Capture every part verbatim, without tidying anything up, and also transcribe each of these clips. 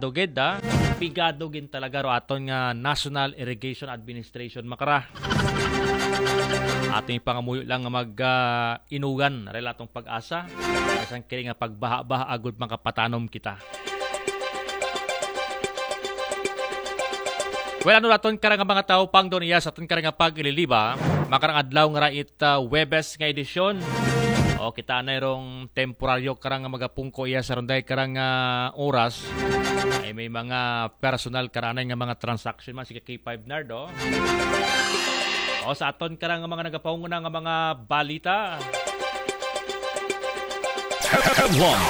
Dugid, ha? Pigado gid talaga ro aton nga National Irrigation Administration, makara. Aton ipangamuyo lang nga mag, ah, inugan, arel atong pag-asa. Bisan kini nga pagbaha-baha, agud makapatanom kita. Well, ano aton karang mga tawo pang Donias, aton karang pag-ililiba, makarang adlaw nga ra it, ah, Webes nga edisyon. O, kita na rong temporaryo karang magapungko iya sa runday karang, ah, oras. Ay may mga personal karanay nga mga transaction man, sige kay five Nardo. O, sa aton karang mga nagapanguna nga mga balita. Headlines.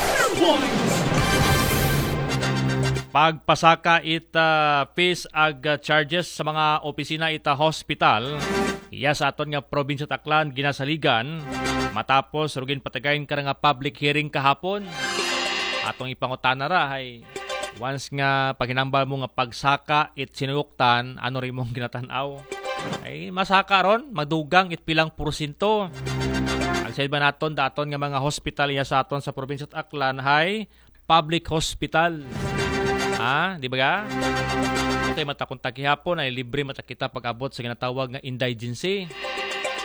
Pagpasaka it, ah, fees ag, ah, charges sa mga opisina it, ah, hospital. Iya sa aton nga probinsya Aklan ginasaligan matapos rugin patagayon ka nga public hearing kahapon. Atong ipangutana ra hay once nga paghinambal mo nga pagsaka it sinuyuktan, ano rin mong ginatanaw? Ay, masaka ron, madugang it pilang porsyento. Ang sa iba naton, daton nga mga hospital iya sa aton sa probinsya Aklan hay public hospital. Ha? Di ba ga? Okay, mata kung tagihapon ay libre mata kita pag-abot sa ginatawag nga indigency.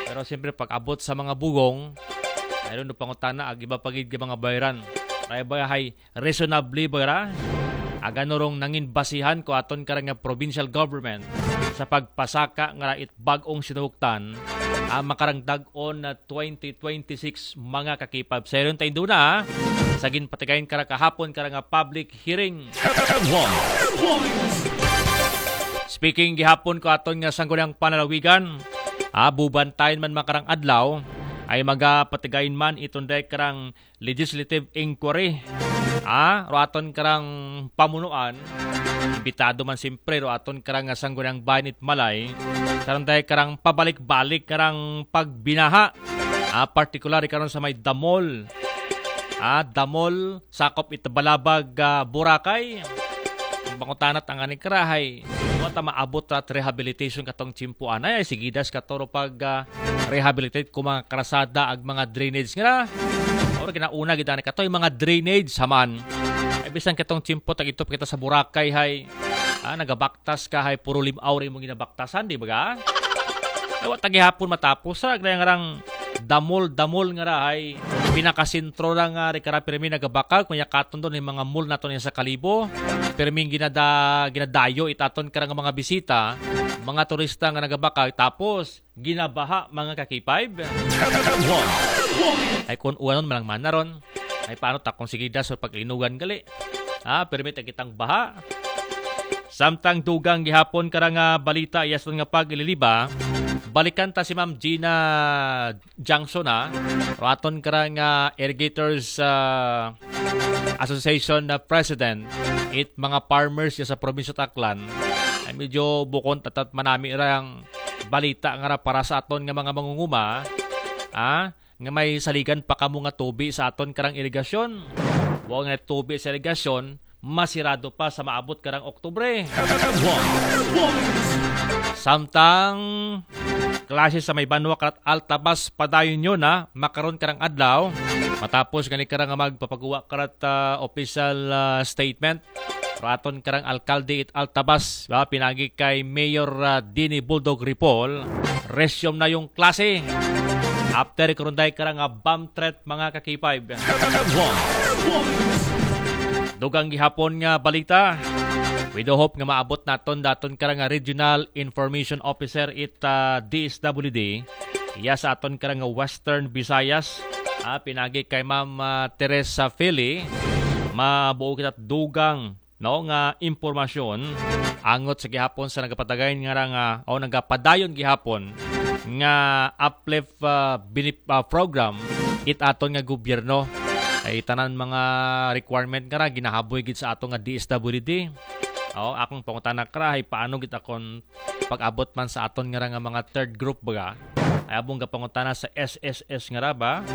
Pero siyempre, pag-abot sa mga bugong, mayroon do pangutana, ag iba pa gid nga mga bayaran. Kaya ba hay reasonably ba ra? Agano rong nangin basihan ko aton karang nga provincial government sa pagpasaka nga ra it bag-ong sinuktan ang makarang dag-on na twenty twenty-six mga kakipab. Sa iyon tayo doon na sa ginpatigayon kara kahapon kara nga public hearing. Speaking gihapon ko aton nga sangguniang panalawigan, abubantayan man makarang adlaw, ay magapatigayon man itunday karang legislative inquiry. Ah, ro aton karang pamunuan, imbitado man simpre ro aton karang sangguniang bayan it malay, karang dahil karang pabalik-balik karang pagbinaha. Ah, particular karon sa may Damol. Ah, Damol, sakop it Balabag, ah, Boracay. Ang pangutana tangani karahay. Wa ta maabot ra at rehabilitation katong tiyempo anay, ay sigidas katoro pag, ah, rehabilitate ko mga karasada ag mga drainage nga. Or ginauna gid ani kato yung mga drainage haman. Ay bisan katong tiyempo tag ito kita sa Boracay hay. Ah, nagabaktas ka hay puro limaw rin mong ginabaktasan, di ba ga? Ay, wa ta gihapon matapos ra, kaya nga rang damol-damol nga ra ay pinakasentro ra nga ri kara pirmi nagabakag, kunya katon doon yung mga mall naton sa Kalibo. Pirming ginada, ginadayo itaton karang mga bisita, mga turista nga nagabakag, tapos ginabaha mga kakipayb. Ay kung uwanon malang manaron. Ay paano takong sige daso pag-inugan gali? Ah, permit kitang baha. Samtang dugang gihapon karang nga balita, iyas nga pag-ililiba, balikan ta si Ma'am Gina Jangson, ha. Raton karang nga Irrigators, ah, Association na president, it mga farmers ya sa probinsya Taclan, ay medyo bukon tatat manami rang balita nga ra para sa aton nga mga mangunguma, ah, nga may saligan pa kamo nga tubi sa aton karang irigasyon. Wa nga tubi sa irigasyon, masirado pa sa maabot karang Oktubre. Samtang klase sa may banwa karat Altabas padayon yun, ha, makaron karang adlaw. Matapos gani karang magpapaguwa karat, ah, official, ah, statement raton karang alkalde it Altabas, ba, pinagi kay Mayor, ah, Dini Bulldog Ripoll, resume na yung klase. After karunday karang, ah, bomb threat, mga kakipayb. Dugang gihapon nga balita. We do hope nga maabot naton daton karang, ah, Regional Information Officer it, ah, D S W D. Iya sa aton karang, ah, Western Visayas. Ah, pinagi kay Ma'am, ah, Teresa Fili. Mabuo kita dugang, no, nga impormasyon angot sa gihapon sa nagapatagay nga ra nga o nagapadayon gihapon nga uplift, ah, benef-, ah, program it aton nga gobyerno. Ay tanan mga requirement nga ra ginahaboy gid sa ato nga D S W D. O, akong pangutana kara, ay paano gid akon pag-abot man sa aton nga ra nga mga third group baga? Ay abong gapangutana sa S S S nga ra ba?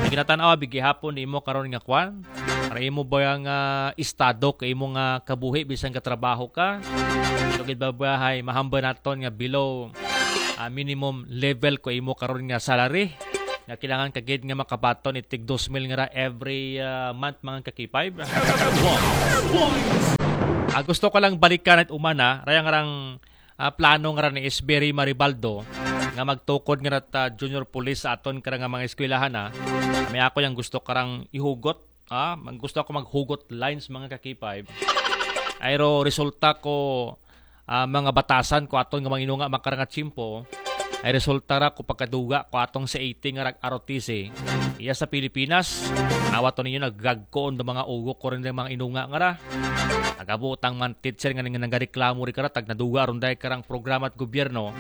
Ay ginatanaw abi gihapon nimo karon nga kwan? Para imo ba nga estado kay imo nga kabuhi bisan ka trabaho ka? Ito gid ba ba hay mahambal naton nga below, ah, minimum level ko imo karon nga salary? Nga kailangan ka gid nga makabaton itig dos mil nga ra every, ah, month, mga kakipayb. Ah, gusto ko lang balikan it umana, raya nga rang, ah, plano nga ra ni S B Ray Maribaldo, nga magtukod nga ra ta junior police sa aton kara nga mga eskwelahan, ah. May ako yang gusto karang ihugot, ah, mag-, gusto ako maghugot lines, mga ka-K five. Ay ro resulta ko, ah, mga batasan ko aton nga mga inunga, mga karang nga tiyempo, ay resulta ra ko pagkaduga ko atong sa eighty nga rag-R O T C. Iya sa Pilipinas, nawa to ninyo nagagkoon do mga ugo ko rin ng mga inunga nga ra. Nagabutang man teacher nga ning nagareklamo ri kara, tag naduga ron dahil karang programa at gobyerno.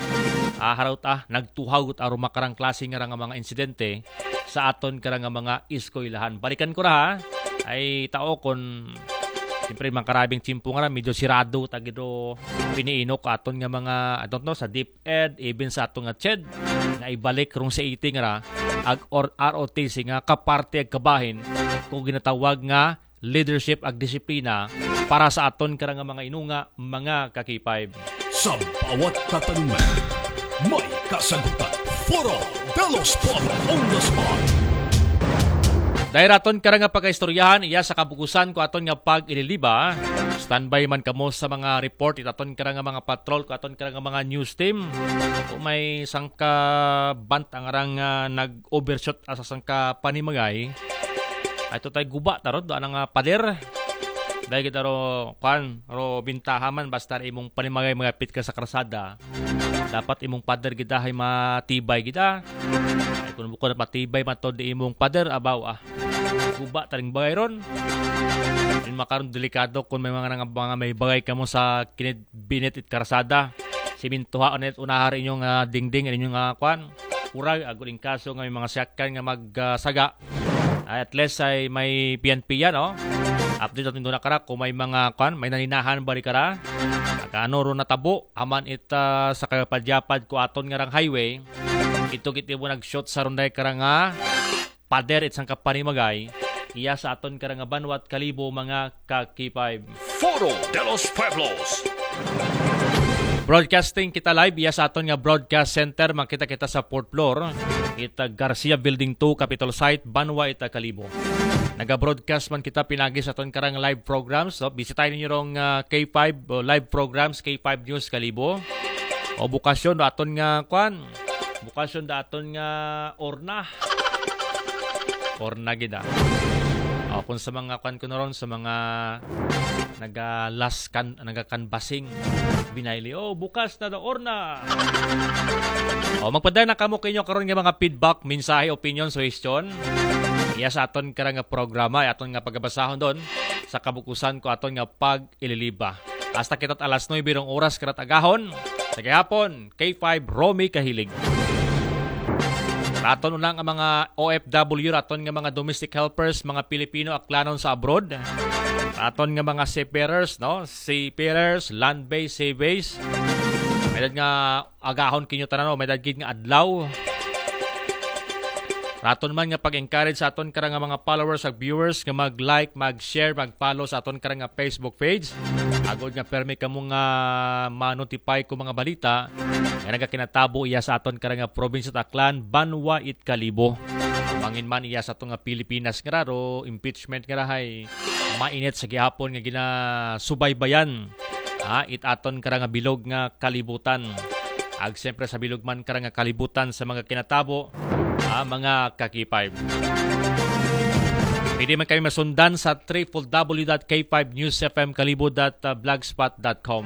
Ah, harot ah, nagtuhaw got aron makarang klase nga ra nga mga insidente sa aton kara nga mga eskwelahan. Balikan ko ra ha, ay tao kon siyempre, mga karabing tiyempo nga ra, medyo sirado, tagido, piniinok aton nga mga, I don't know, sa DepEd, even sa aton nga CHED, nga ibalik rong sa eighty nga ra, ag or R O T C nga kaparte ag kabahin, kung ginatawag nga leadership ag disiplina para sa aton kara nga mga inunga, mga ka-K five. Sa bawat katanungan, may kasagutan. Foro de los Pueblos on the spot. Dahil aton kara nga pagkaistoryahan, iya sa kabukusan ko aton nga pag-ililiba. Standby man kamo sa mga report, it aton kara nga mga patrol, ko aton kara nga mga news team. Kung may sangka bant ang arang, ah, nag-overshoot asa sangka panimagay, ay to tay guba tarod, anang, ah, pader. Dahil kita ro, kwan, ro bintaha man, basta imong panimagay magapit ka sa karsada. Dapat imong pader gid hay matibay gid, ah. Ay, kung bukod matibay man to di imong pader, abaw, ah. Guba taring bagay ron. Yung makaron delikado kung may mga, mga, mga may bagay kamo sa kinid binit it karsada. Simintuha ulit unahar inyong, ah, dingding, inyong, ah, kwan. Urag, agud in kaso nga may mga sakyan nga magsaga. Ay, at least ay may piyan-piyan, no? Update natin doon na kara kung may mga, kwan, may naninahan ba ri kara. Agano ro natabo, aman it, ah, sa kayapadyapad ko aton nga rang highway. Ito kit mo nag-shoot sa runday kara nga pader it sangka panimagay. Iya sa aton kara nga banwa at kalibo, mga ka-K five. Foro de los Pueblos. Broadcasting kita live, iya sa aton nga broadcast center, makita kita sa fourth floor. Ita Garcia Building two, Capitol Site, Banwa ita Kalibo. Naga-broadcast man kita pinagi sa aton karang live programs. So, bisitahin ninyo rong, ah, K five, o live programs, K five News Kalibo. O bukasyon do aton nga, kwan, bukasyon do aton nga orna. Orna gid, ah. O, kung sa mga kwan ko na ron, sa mga naga-last kan-, naga-canvassing, binayli, "Oh, bukas na daw, orna." O, magpadala na kamo kinyo karon nga mga feedback, mensahe, opinion, suggestion. Iya sa aton kara nga programa, ay aton nga pagabasahon doon sa kabukusan ko aton nga pag-ililiba. Hasta kita't alas nuebe rong oras karat agahon. Sa gihapon, K five Romy Kahilig. Raton unang ang mga O F W, raton nga mga domestic helpers, mga Pilipino aklanon sa abroad. Raton nga mga seafarers, no? Seafarers, land-based, sea-based. May dad nga agahon kinyo tanan, no? May dad gid nga adlaw. Raton man nga pag-encourage sa aton kara nga mga followers ag viewers nga mag-like, mag-share, mag-follow sa aton kara nga Facebook page. Agod nga permi kamo nga ma-notify ko mga balita nga nagakinatabo iya sa aton kara nga probinsya Aklan, banwa it Kalibo. Mangin man iya sa aton nga Pilipinas nga raro, impeachment nga rahay, mainit sa gihapon nga ginasubaybayan. Ha, it aton kara nga bilog nga kalibutan. Ag siyempre sa bilog man kara nga kalibutan sa mga kinatabo, ha, mga ka-K five. Pwede man kami masundan sa triple W dot K five news F M kalibo dot blogspot dot com.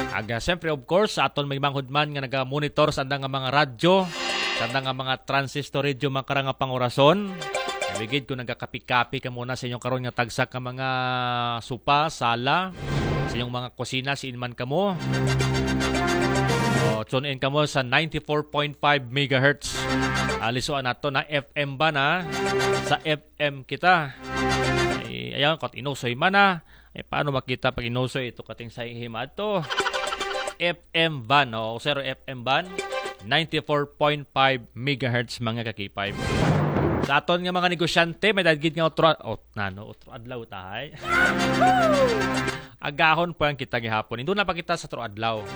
Ag, ah, siyempre, of course, sa aton may manghud man nga naga-monitor sa andang nga mga radyo, sa andang nga mga transistor radio, mga kara nga pangurason. Bigid ko nagakapi-kapi ka muna sa inyong karon nga tagsa ka mga supa, sala, sa inyong mga kusina, siin man kamo. O, tune in kamo sa ninety-four point five megahertz. Alisuan nato na F M ba na? Sa F M kita. Ay, ayan, kot inusoy man na. Eh, paano makita pag inusoy ito kating sa hima to? F M band, o, sir, F M band, ninety-four point five megahertz, mga ka-K five. Sa aton nga mga negosyante, may dagid nga otro, o, nano, otro adlaw tahay. Agahon po ang kita gihapon. Indo na pa kita sa otro adlaw.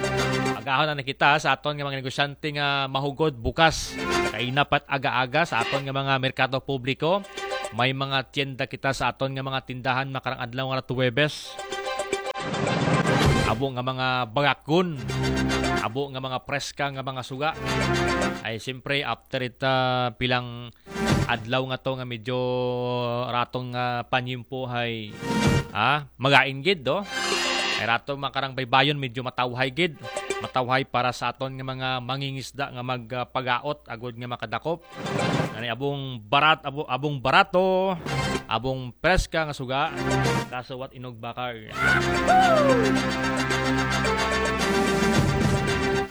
Agahon na kita sa aton nga mga negosyante nga mahugod bukas. Kainapat aga-aga sa aton nga mga merkado publiko. May mga tienda kita sa aton nga mga tindahan makarang adlaw nga Huwebes. abo nga mga bagakon, abo nga mga preska nga mga suga. Ay, siyempre, after ita pilang adlaw nga to nga medyo raton nga panyimpo hay, ah, magain gid, do? Ay rato makarang baybayon, medyo matawhay gid. Matawhay para sa aton nga mga mangingisda nga magpagaot agod nga makadakop. Ani abong barat, abo-, abong barato, abong preska nga suga, kaso wat inog bakal.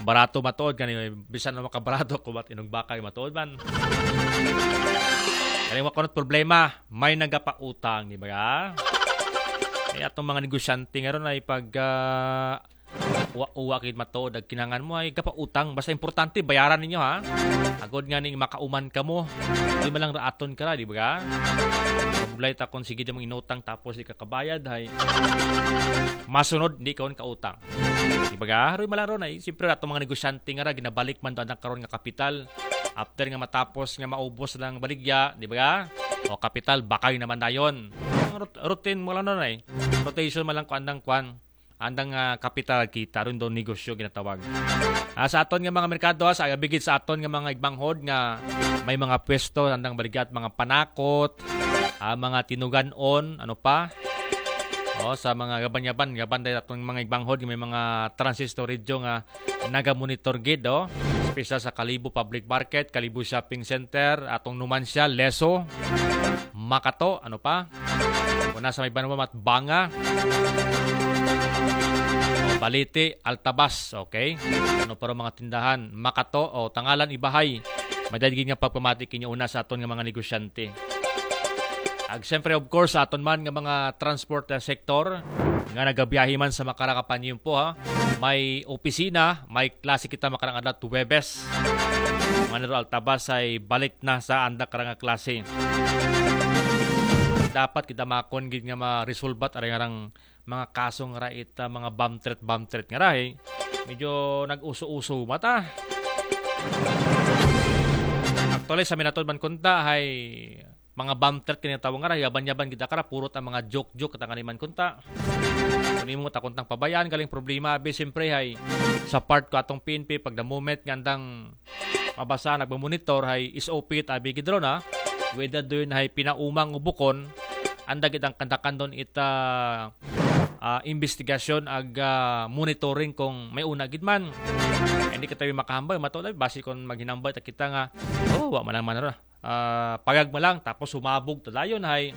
Barato matuod kani, bisan na makabarato ko, wat inog bakal matuod man. Kani wa kunot problema, may nagapautang, di ba? Ay atong mga negosyante nga ron ay pag, ah, uwa-uwa kay matuod ang kinangan mo ay gapautang. Basta importante, bayaran ninyo, ha? Agod nga ning makauman ka mo. Di man lang raaton ka ra, di ba? Mabuglay ta kung sige di mong inutang tapos di ka kabayad, hay. Masunod, di ka kautang. Di ba? Haroy malaro na, eh. Siyempre, atong mga negosyante nga ra, ginabalik man doon ang karon nga kapital. After nga matapos nga maubos lang baligya, di ba? O kapital, bakay naman dayon. Ang rut-, routine mo lang nun, eh. Rotation man lang kung andang kwan. Andang, ah, kapital kita ron doon negosyo ginatawag. Ah, sa aton nga mga merkado, ah, sa abigid sa aton nga mga igbanghod nga may mga pwesto, andang baligya at mga panakot, ah, mga tinuganon, ano pa? O, sa mga gaban-yaban, gaban dahil atong mga igbanghod, may mga transistor radio nga naga-monitor gid, o. Espesyal sa Kalibo Public Market, Kalibo Shopping Center, atong Numancia, Leso, Makato, ano pa? Una sa may Banwa at Banga. O, Balite, Altabas, okay? Ano pa rin mga tindahan? Makato, o, Tangalan, Ibahay. May dahil nga pagpamati kinyo una sa aton nga mga negosyante. Ag siyempre, of course, sa aton man nga mga transport, ah, sector, nga nagabiyahe man sa makarang nga panyimpo, ha. May opisina, may klase kita makarang adlaw Huwebes. Mga nero Altabas ay balik na sa anda karang nga klase. Dapat kita makon gid nga maresolbat aray nga rang mga kaso nga ra ita, mga bamtret-bamtret nga ra, eh. Medyo nag-uso-uso mata. Actually, sa minatod man kunta, hay mga bamtret kini tawag nga ra, yaban-yaban gid ka ra, purot ang mga joke-joke, katang animan kunta. Kung imo ta kuntang pabayaan, galing problema, abi, siyempre, hay, sa part ko atong P N P, pag the moment nga andang mabasa, nagmamonitor, hay, S O P, tabi gid ron, ha? Whether doon, hay, pinaumang o bukon, anda gid ang kandakan doon ita, ah, investigasyon ag, ah, monitoring kung may una gid man. Hindi ka tayo makahambay, matuod, basi kung maghinambay ta kita nga, oh, wa man lang man ra. Ah, pagag mo lang, tapos humabog ta dayon, hay.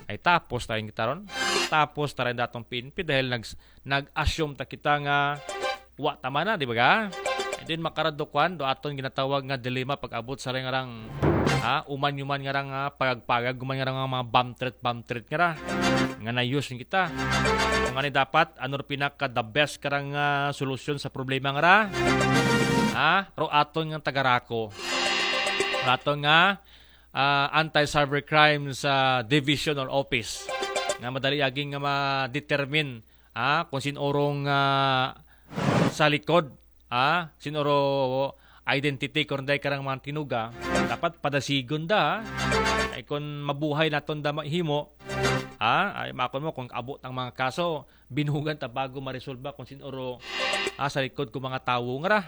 Ay, tapos tayong kita ron. Tapos tayo datong P N P dahil nag-, nag-assume ta kita nga wa tama na, di ba ga? And then, makaradukwan, do aton ginatawag nga dilema pag-abot sa ring arang, ha, uman-uman nga rang, ah, pagag-pagag, uman nga rang mga bamtret-bamtret nga ra. Nga na-use kita. Kung ano dapat, ano rin pinaka the best karang, ah, solusyon sa problema nga ra? Ha? Ro aton nga tagarako. Ro aton nga, ah, anti-cybercrime sa division or office. Nga madali aging nga ma-determine, ha? Kung sinurong, ah, sa likod, ha? Sinuro identity kung day karang mga tinuga, dapat padasigon da, ha? Ay kung mabuhay naton da mahimo, ha? Ay makon mo kung abot ang mga kaso, binugan ta bago maresolba kung sinuro, ah, sa likod ko mga tawo nga ra.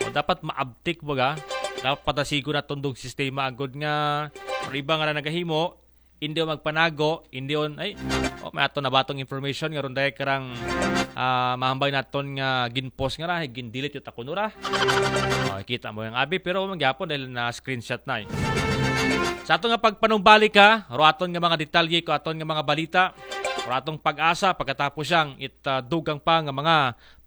O dapat maabtik baga. Dapat padasigon naton dong sistema agod nga, pero iba nga ra nagahimo, hindi on magpanago, hindi on, ay, oh, may ato na batong information, nga ron dahil karang, ah, mahambay naton nga ginpost nga ra, gindelete yun ako nura. Oh, kita mo yung abi, pero mangyapon dahil na screenshot na eh. Sa ato nga pagpanumbalik ha, ro aton nga mga detalye ko aton nga mga balita, ro atong pag-asa, pagkatapos siyang it, ah, dugang pa nga mga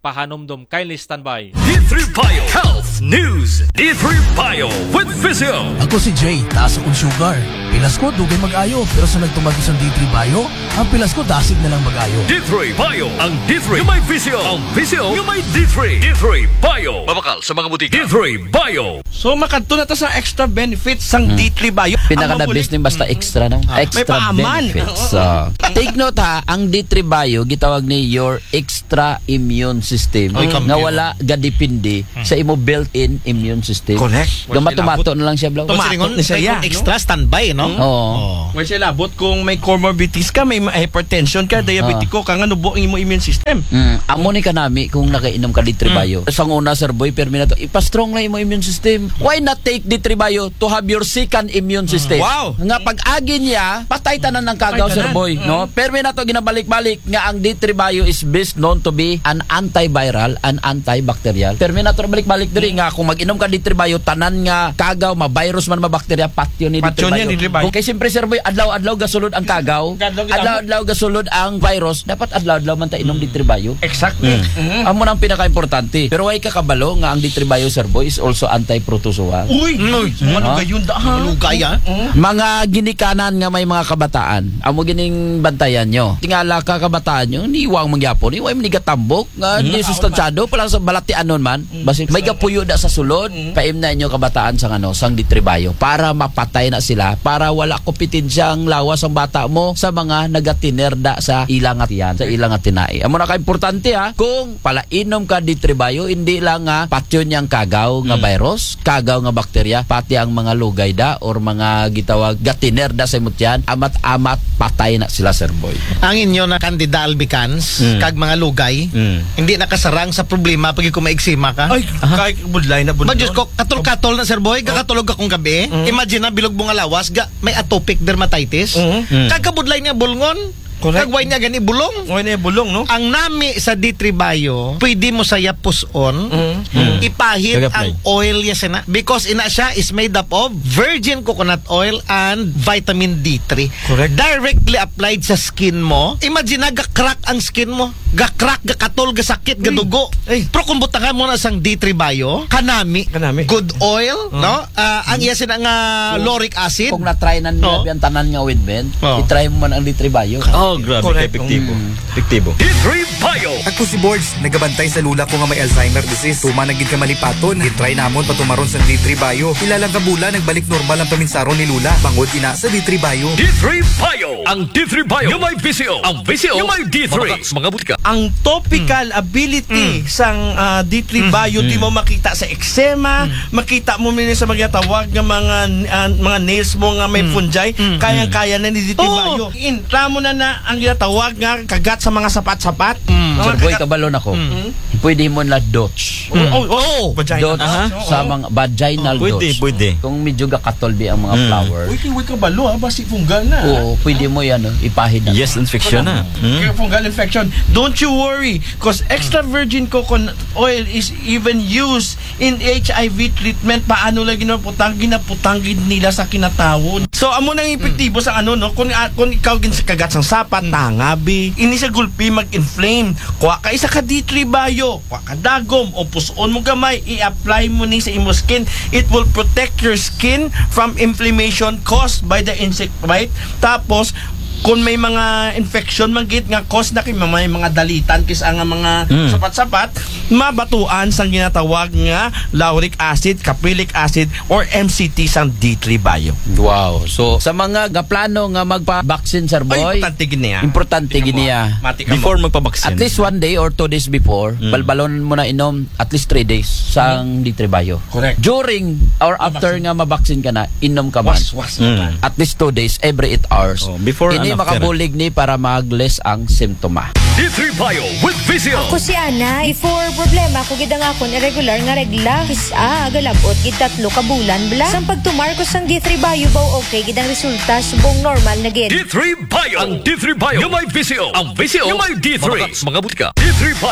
pahanumdum. Kindly standby. D three Bio Health News. D three Bio with Physio. Ako si Jay, taas akong sugar. Pilas ko, dugay mag-ayo. Pero sa nagtumag isang D three Bio, ang pilas ko, dasig na lang mag-ayo. D three Bio, ang D three may Physio. Ang Physio nga may D three. D three Bio. Mabakal sa mga butika. D three Bio. So, makadto na ta sa extra benefits sang Hmm. D three Bio. Pinaka Ang the mabulig- best ni basta Mm. extra, no? Ah, may Extra paaman. benefits. Oo. Ah. Take note ha, ang D three Bio, gitawag ni your extra immune system. Oy, nga kampiyon. Wala gadepende sa imo built-in immune system. Correct. Gamato-mato na lang siya, bro. Tumato Tumato na siya, kay no? Extra standby, no? Oo. Oh. Well, siya labot kung may comorbidities ka, may hypertension ka, diabetiko ka, nga nubo ang imo immune system. Mm. Amo ni kanami kung nakainom ka D three Mm. Bio. Sa una, Sir Boy, permi na to, ipa-strong na imo immune system. Why not take D three Bio to have your second immune system? Wow. Nga pag-agi niya, patay tanan ng kagaw, Patay Sir tanan. Boy, no? Mm. Permi na to ginabalik-balik nga ang D three Bio is best known to be an antiviral and antibacterial. Permi na to balik-balik diri nga kung mag-inom ka D three Bio, tanan nga kagaw, ma-virus man, ma-bacteria, patyon ni Patyon D three Bio. Niya, D three Bio. Kay siyempre, Sir Boy, adlaw-adlaw gasulod ang kagaw. Adlaw-adlaw gasulod ang virus. Dapat adlaw-adlaw man ta inom D three Bio. Exactly. Mm. Mm. Amo nang pinaka-importante. Pero way ka kabalo nga ang D three Bio, Sir Boy, is also anti-protozoal. Uy, Mm. mga Ha? Lugay yun, da, ha? Lugay, ah. Mm. Mga ginikanan nga may mga kabataan, amo gining bantayan nyo. Tingala ka, kabataan nyo, niwang mangyapon, niwang manigatambok, nga Mm. Di sustansyado, pala sa balatianon man, Mm. basi may gapuyo da sa sulod, Mm. paimna inyo kabataan sa ano, sang D three Bio, para mapatay na sila, para wala kompetensyang lawas ang bata mo sa mga nagatinerda sa ilang atiyan, sa ilang atinai. Amo na ka importante, ha, kung palainom ka D three Bio, hindi lang nga patyon niyang kagaw nga Mm. virus, kagaw nga bakterya, pati ang mga lugay da or mga gitawag gatiner da sa imutyan, amat-amat patay na sila, Sir Boy. Ang inyo na kandida albicans, Mm. kag mga lugay, Mm. hindi nakasarang sa problema pag kung maeksema ka. Ay, Aha. Kay budlay na budlay. Ba, Diyos ko, katol-katol na, Sir Boy, Oh. Kakatulog akong gabi. Mm. Imagine na, bilog mo nga lawas, ga, may atopic dermatitis. Mm. Mm. Kagkabudlay niya, bulngon. Correct. Kagway niya gani bulong. Way na bulong, no? Ang nami sa D three Bio, pwede mo saya puson, Mm. Mm. ipahid Kag-apply. Ang oil ya sina. Because ina siya is made up of virgin coconut oil and vitamin D three. Correct. Directly applied sa skin mo. Imagine na, ga-crack ang skin mo. Ga-crack, gakatol, gasakit, Uy. Gadugo. Ay. Pero kung butangan mo na sang D three Bio, kanami, Kanami. Good oil, Oh. No? Ah, ang iya sina nga lauric acid. Kung na-try na nila Oh. Ang tanan nga ointment, Oh. I-try mo man ang D three Bio. Oh, grabe, Correct. Ka epektibo. Mm. Epektibo. D three Bio. Ako si Borge, nagabantay sa lula ko nga may Alzheimer disease. Tuma na gid ka malipaton. I-try namon patumaron sa D three Bio. Pila lang ka bulan, nagbalik normal ang paminsaron ni lula. Bangod ina sa D three Bio. D three Bio. Ang D three Bio. Yung may V C O. Ang V C O. Yung may D three. Mga, mga butika. Ang topical Mm. ability Mm. sang, ah, D three Mm. Bio, di Mm. mo makita sa eczema, Mm. makita mo man sa mga tawag nga mga, ah, mga nails mo nga may Mm. fungi, Mm. Kayang-kaya na ni D three Oo. Bio. Intra mo na na ang ginatawag nga kagat sa mga sapat-sapat. Mm. Mga Sir Boy, kagat- kabalon ako. Mm. Pwede mo na dots. Mm. Oh, oh, oh. Vagina Dots dots. Oo. Sa mga vaginal Oh, pwede, dots. Pwede. Kung medyo gakatol bi ang mga Mm. flower. Uy, kiwi ka balo, ha? Basi fungal na. Oo, pwede mo yan, oh, ipahid na. Yes, infection na. Mm. Kaya fungal infection. Don't you worry, 'cause extra virgin coconut oil is even used in H I V treatment. Paano lang ginaputang? Ginaputang gid nila sa kinatawon. So, amo nang epektibo sa ano, no? Kung, ah, kung ikaw gin sa kagat sang sapat, Mm. Tangabi, ini sa gulpi mag-inflame. Kuha ka isa ka D three Bio. Wa ka dagom o puson mo gamay, i-apply mo ni sa imo skin. It will protect your skin from inflammation caused by the insect bite. Tapos, kung may mga infection man gid nga cause na kay may mga dalitan kis ang mga Mm. sapat-sapat, mabatuan sang ginatawag nga lauric acid, caprylic acid, or M C T sang D three Bio. Wow. So, sa mga gaplano nga magpa-vaccine, Sir Boy, importante gid niya. Importante gid niya. Before magpa-vaccine. At least one day or two days before, Mm. balbalon mo na inom at least three days sang Mm. D three Bio. Correct. During or after Mabaksin. Nga mabaksin ka na, inom ka man. Was, was. Mm. At least two days, every eight hours. Oh, before Ini and after. Makabulig ni para mag-less ang simptoma. D three Bio with V C O. Ako si Ana. Before, problema ko gid ang akon irregular nga regla. Kis-a, galabot gid tatlo ka bulan bala. Sang pagtumar ko sang D three Bio, baw okay gid ang resulta, subong normal na gid. D three Bio. Ang D three Bio. Yung may V C O. Ang V C O. Yung may D three. Mga, mga butika. D three Bio.